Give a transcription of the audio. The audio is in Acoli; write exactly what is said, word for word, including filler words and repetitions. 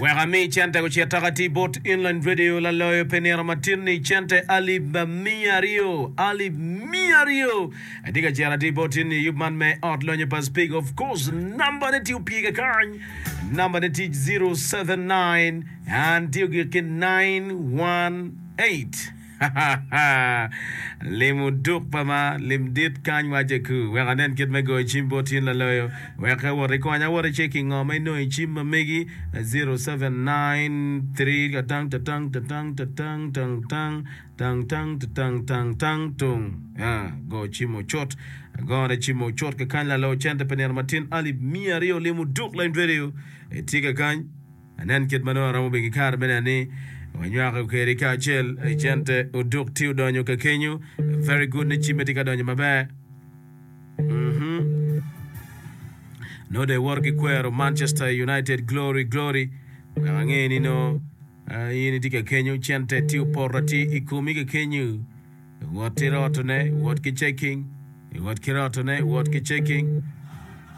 Wek ami cente gucit aka ti bot Inland Radio laloyo pi nino matin ni cente alip miya aryo alip miya aryo atye ka cito atir bot in i yub man me ot lonyo pa Speke of course namba ne tye opye kakany namba ne tye zero seven nine and tye ogik ki nine one eight. Lim oduk pa ma lim dit kany wace ku wek anen kit me goyo cim bot in laloyo wek awot ikonya awot iceki ngo ma inongo i cim ma megi zero seven nine three katang tatang tatang tatang tang tang tang tang tatang tang tang tung go cim ocut agone cim ocut kakany lalo cente pe nino matin alip miya aryo lim oduk line radio itye kakany. Anen kit ma nongo aromo bedo ki kare me neno ni wanywako kwedi kacel i cente oduk tye odonyo ka kenyo. Very good ni cimme tye ka donyo maber. Mhm. Nongo dong iwoto ki kwero Manchester United glory glory. Wek ange ni nongo ah, in itye ka kenyo cente tye opoto atir i komi ka kenyo. Wot ki rotone, wot ki checking. Wot ki rotone, wot ki checking.